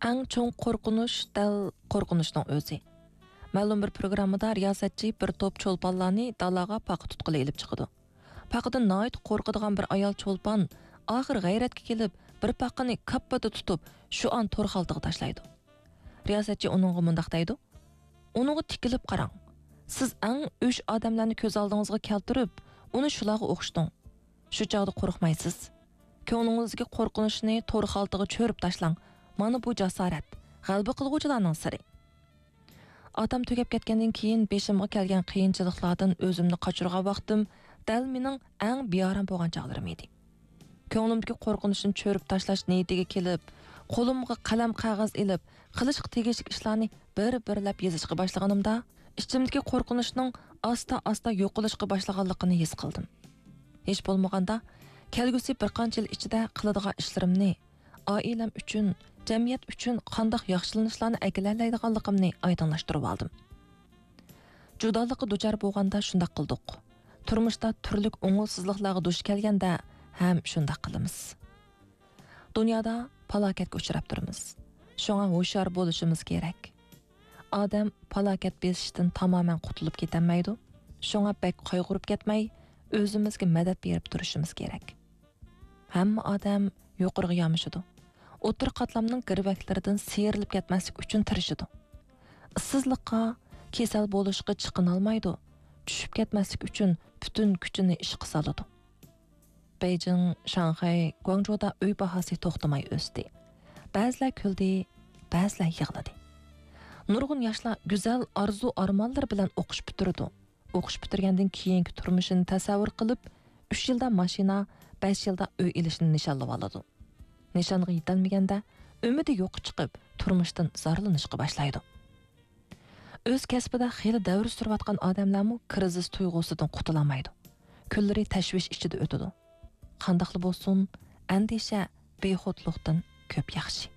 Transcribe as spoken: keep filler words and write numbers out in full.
ئەڭ چوڭ قورقۇنچ دەل قورقۇنچنىڭ ئۆزى. مەلۇم بىر پروگراممىدا رىياسەتچى بىر توپ چولپانلارنى دالاغا پاقا تۇتقىلى ئېلىپ چىقىدۇ. پاقىدىن ناھايىتى قورقىدىغان بىر ئايال چولپان ئاخىر غەيرەتكە كېلىپ، بىر پاقىنى كاپپىدە تۇتۇپ، شۇئان تور خالتىغا تاشلايدۇ. رىياسەتچى ئۇنىڭغا مۇنداق دەيدۇ: «ئۇنىڭغا تىكىلىپ قاراڭ. سىز ئەڭ ئۆچ ئادەملەرنى كۆز ئالدىڭىزغا كەلتۈرۈپ، ئۇنى شۇلارغا ئوخشىتىڭ. شۇ چاغدا قورقمايسىز. كۆڭلىڭىزدىكى قورقۇنچنى تور خالتىغا چۆرۈپ تاشلاڭ. مانا بۇ جاسارەت، غەلىبە قىلغۇچىلارنىڭ سىرى.» ئاتام تۈگەپ كەتكەندىن كېيىن بېشىمغا كەلگەن قىيىنچىلىقلاردىن ئۆزۈمنى قاچۇرغان ۋاقتىم دەل مېنىڭ ئەڭ بىئارام بولغان چاغلىرىم ئىدى. كۆڭلۈمدىكى قورقۇنچنى چۆرۈپ تاشلاش نىيىتىگە كېلىپ، قولۇمغا قەلەم قەغەز ئېلىپ، قىلىشقا تېگىشلىك ئىشلارنى بىر-بىرلەپ يېزىشقا باشلىغىنىمدا، ئىچىمدىكى قورقۇنچنىڭ ئاستا-ئاستا يوقىلىشقا باشلىغانلىقىنى ھېس قىلدىم. ھېچ بولمىغاندا، كەلگۈسى بىر قانچە يىل ئىچىدە قىلىدىغان ئىشلىرىمنى، ئائىلەم ئۈچۈن، جەمئىيەت ئۈچۈن قانداق ياخشىلىنىشلارنى ئەكېلەلەيدىغانلىقىمنى ئايدىڭلاشتۇرۇۋالدىم. جۇدالىققا دۇچار بولغاندا شۇنداق قىلدۇق. تۇرمۇشتا تۈرلۈك ئوڭۇشسىزلىقلارغا دۇچ كەلگەندە ھەم شۇنداق قىلىمىز. دۇنيادا پالاكەتكە ئۇچراپ تۇرىمىز. شۇڭا ھوشيار بولۇشىمىز كېرەك. ئادەم پالاكەت بېسىشتىن تامامەن قۇتۇلۇپ كېتەلمەيدۇ. شۇڭا بەك قايغۇرۇپ كەتمەي، ئۆزىمىزگە مەدەت بېرىپ تۇرۇشىمىز كېرەك. ھەممە ئادەم يۇقىرىغا يامىشىدۇ. ئوتتۇرا قاتلامنىڭ گىرۋەكلىرىدىن سىيرىلىپ كەتمەسلىك ئۈچۈن تىرىشىدۇ. ئىشسىزلىققا، كېسەل بولۇشقا چىقىنالمايدۇ. چۈشۈپ كەتمەسلىك ئۈچۈن پۈتۈن كۈچىنى ئىشقا سالىدۇ. بېيجىڭ، شاڭخەي، گۇاڭجۇدا ئۆي باھاسى توختىماي ئۆستى. بەزىلەر كۈلدى، بەزىلەر يىغلىدى. نۇرغۇن ياشلار گۈزەل ئارزۇ-ئارمانلىرى بىلەن ئوقۇش پۈتتۈرىدۇ. ئوقۇش پۈتتۈرگەندىن كېيىنكى تۇرمۇشىنى تەسەۋۋۇر قىلىپ، ئۈچ يىلدا ماشىنا، بەش يىلدا ئۆي ئېلىشنى نىشانلىۋالىدۇ. نىشانغا يېتەلمىگەندە، ئۈمىدى يوققا چىقىپ، تۇرمۇشتىن زارلىنىشقا باشلايدۇ. ئۆز كەسپىدە خېلى دەۋر سۈرۈۋاتقان ئادەملەرمۇ كىرىزىس تۇيغۇسىدىن قۇتۇلالمايدۇ. كۈنلىرى تەشۋىش ئىچىدە ئۆتىدۇ. قانداقلا بولسۇن، ئەندىشە بىخۇدلۇقتىن كۆپ ياخشى.